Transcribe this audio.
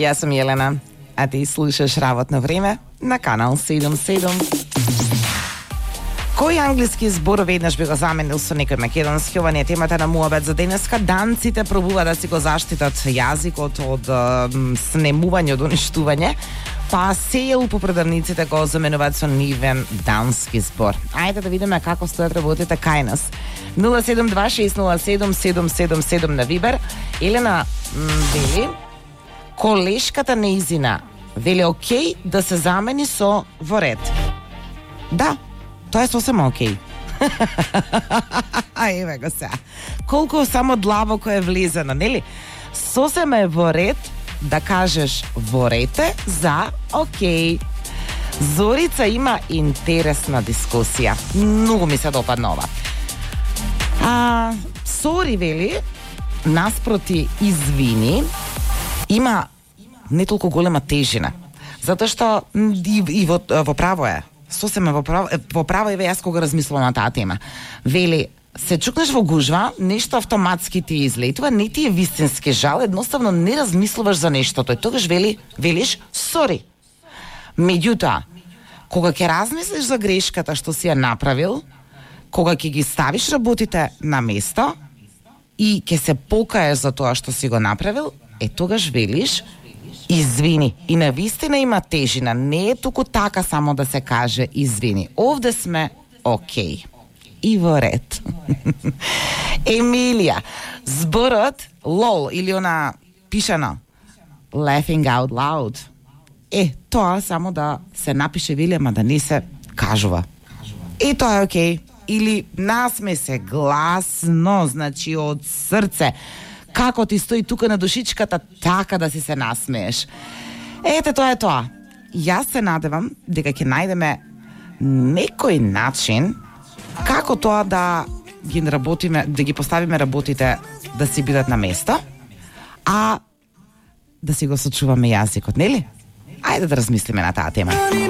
Јас сум Јелена, а ти слушаш Работно време на Канал 77. Кој англиски збор веднаш би го заменил со некој македонски? Ова не е темата на муабет за денеска. Данците пробува да си го заштитат јазикот од снемување, од уништување, па сејал по продавниците го заменуваат со нивен дански збор. Ајде да видиме како стојат работите кај нас. 072607777 на Вибер. Елена вели, колешката неизина вели окей да се замени со во ред. Да, тоа е сосема окей. Еве го сега. Колку само длабоко е влизано, нели? Сосема е во ред да кажеш во рете за окей. Зорица има интересна дискусија. Многу ми се допадна ова. Сори вели, наспроти извини, има не толку голема тежина. Затоа што и во право е. Сосема во право еве јас кога размислувам на таа тема. Вели, се чукнеш во гужва, нешто автоматски ти излетува, не ти е вистински жал, едноставно не размислуваш за нештото. И тогаш велиш сори. Меѓутоа, кога ќе размислиш за грешката што си ја направил, кога ќе ги ставиш работите на место и ќе се покаеш за тоа што си го направил, тогаш велиш извини. И навистина има тежина. Не е туку така само да се каже извини. Овде сме окей. И во ред. Емилија, зборот лол или она пишано laughing out loud. Тоа само да се напише вели, ама да не се кажува. Тоа е окей. Или насме се гласно, значи од срце. Како ти стои тука на душичката, така да си се насмееш. Тоа е тоа. Јас се надевам дека ќе најдеме некој начин како тоа да ги работиме, да ги поставиме работите да си бидат на место, а да си го сочуваме јазикот, нели? Ајде да размислиме на таа тема.